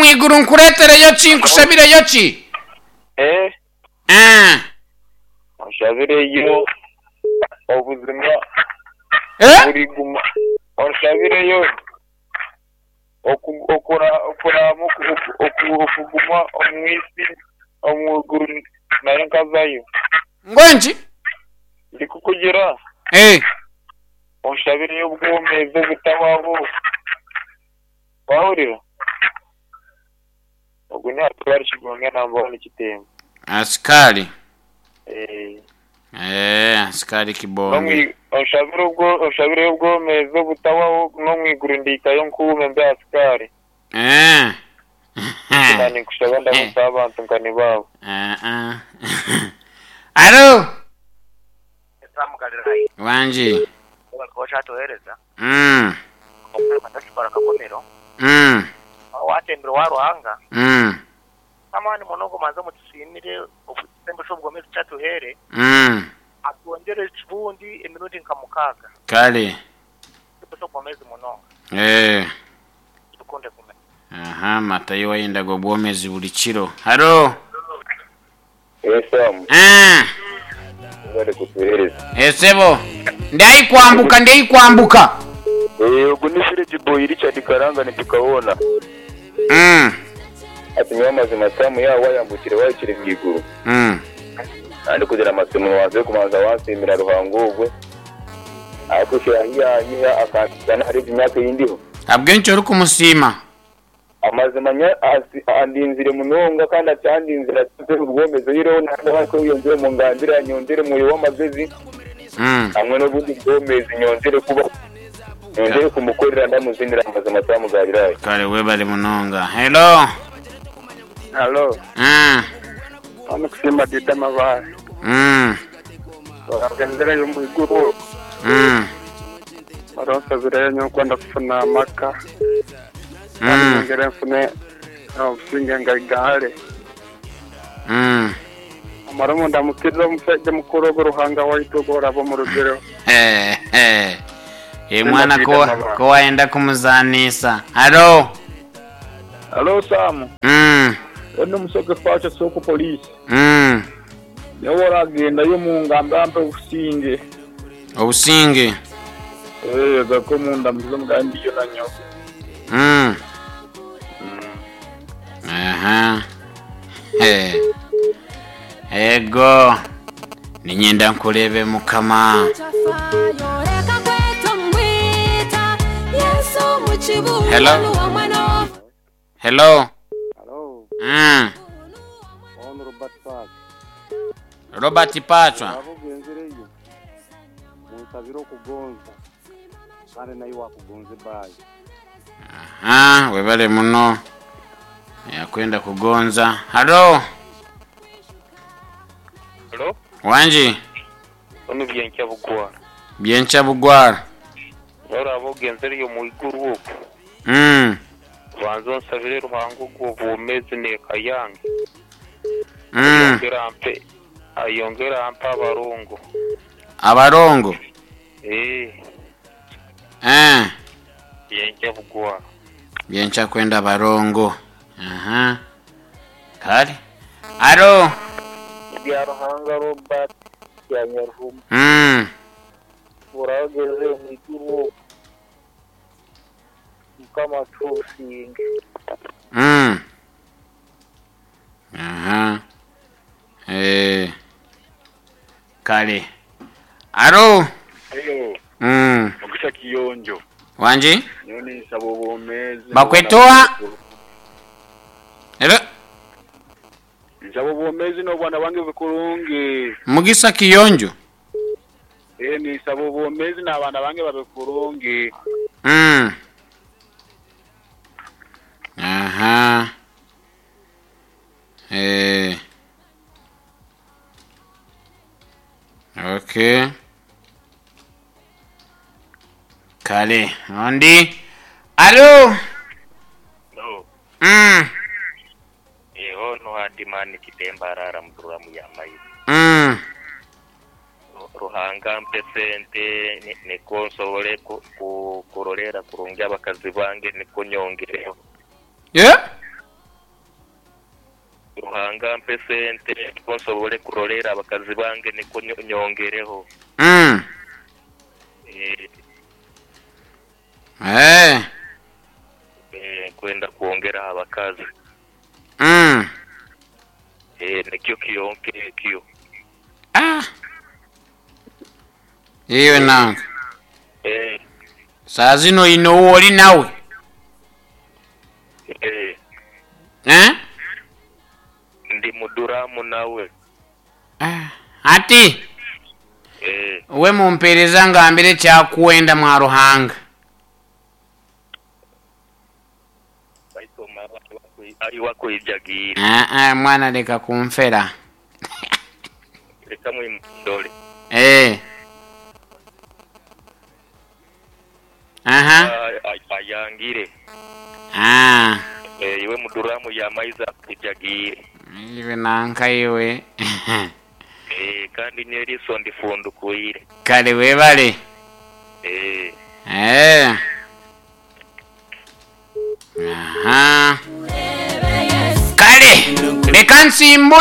Omu iguru nkureetereyo ki? Nkushabireyo ki? Eh, Eh. onshabireyo obuzima Eh? buriguma. Onshabireyo oku- okura- okuraama oku- oku- oku- okuguma omu isi omu iguru nayo nkazayo. Ngu enki? Ndikukugira Eh. onshabireyo obwomeezi obutahwaho. Wahurira? Ogu ni Asikari Kigonga namba wani Kitembo. Asikari. Eh. Eh, asikari Kibonge. N'omwi- Onshabire obwo onshabireyo obwomeezi obutahwaho n'omu iguru ndihikayo nkuume mbe asikari. Eh. Na ninkushaba ndamutsa abantu nka nibaabo. Eh, eh. Alo. Wangi. Okyatuheereza Omutakikora Kakomero watembire owa Ruhanga amaani muno omanze omutusiimire ekisembo ky'obwomeezi kyatuheere atwongyere ekibundi emirundi nka mukaaga. Kale. Ekisembo ky'obwomeezi munonga. Eh. Tukunde kumenya. Aha, Matayo wayendaga obwomezi buli kiro. Halo. Sam, Eh. bari kutuheereza. Esebo. Ndaikwambuka, ndaikwambuka. Ogu ni Village Boy Richard Karanga nitukabona. Ati nyowe amazima Sam yaaba wayambukire wahikire omu iguru. Kandi kugira amasimu wanze kubanza wansiimira Ruhanga ogwe. Ahakushira ahi yanyiha akampitsya n'ahari egi myaka ei ndiho. Ahabw'enki orikumusiima? Amazima nyowe andinzire munonga kandi akyandinzire atampe obwomezi oihireho naaba kweyongyera omu ngambire anyongyere omwoyo w'amagezi hamwe n'obundi bwomezi nyongyere kuba nyongyere kumukorera ndamuzinira amazima Sam Galilaya. Kale webale munonga. Hello. Halo, hano kusimba Dida Mabare. Oragendereyo omu iguru, oronsabireyo nyowe kwenda kufuna amaka, kandi nyongere nfune obusinge ngaigahare. Amara omu ndamukirize omushaija mukuru ogu Ruhanga waitu ogu oraba omurugireho. Eh, eh. Eh, mwana Dida ko Mabare. ko wayenda kumuzanisa. Hello. Halo Sam, ono omusoke Pacho soko police. Nyowe oragendayo omu ngamba ampe obusinge. Obusinge. Eh, garuka omu ndamukize omugambe ndiyo na nyowe. Aha. Eh. Ego. Ninyenda nkurebe Mukama. Hello. Hello. Halo, ono Robert Park. Robert Pachwa. Abo ogenzereyo, munsabire okugonza, kandi naye wakugonza ebayi. Aha, webale muno. Yakwenda kugonza. Hello. Hello? Wangi. Ono Byenkya Bugwara. Byenkya Bugwara. Oraba ogenzereyo omu iguru okwo. Banza onsabire Ruhanga ogwo obwomeezi n'eka yange. Ayongere ampe ayongere ampe abarongo. Abarongo. Eh, Eh. Byenkya Bugwara. Byenkya kwenda barongo. Aha. Kale. Alo. Bya Ruhanga Robert ya Nyaruhuma. Orageze omu iguru okwo. Mukama atuhe obusinge. Aha. Eh. Kale. Alo. Hello, Mugisha Kiyonjo. Wangi? Nyowe ninsaba obwomeezi. Bakwetoa. Hello. Nsaba obwomeezi n'obwana bwange bukurungi. Mugisa Kiyonjo. Eh, ninsaba obwomeezi n'abaana bange babe kurungi. Aha. Eh. Okay. Kale, ondi. Alo. No. Ono Hadimani Kitemba arara muduramu ya maizi. Ruhanga mpe sente niko nsobole kurorera kurungi abakazi bange niko nyongereho. Yeah? Ruhanga ampe sente nikwo nsobole kurorera abakazi bange nikwo nyongereho. Mm. Eh. Eh. Eh, nkwenda kwongeraho abakazi. Mm. Eh, nikyo kyonka ekyo. Ah. Iwe nanka. Eh. Saa zino oine ou ori nawe? Eh. Eh? Ndi muduramu nawe. Ah. Hati Eh. we mumpereza ngambire ekyakwenda mwa Ruhanga. Baitu omara ayi wakwijagiire. Ah, ah, mwana leka kunfera. Leka mwimundole. Eh. Aha. Ayangire. Ah. Eh, iwe muduramu ya maizi akwijagiire. Iwe nanka iwe. Eh, kandi n'eriiso ndifundukwire. Kale webale. Eh. Eh. Aha. Kale leka nsimbule.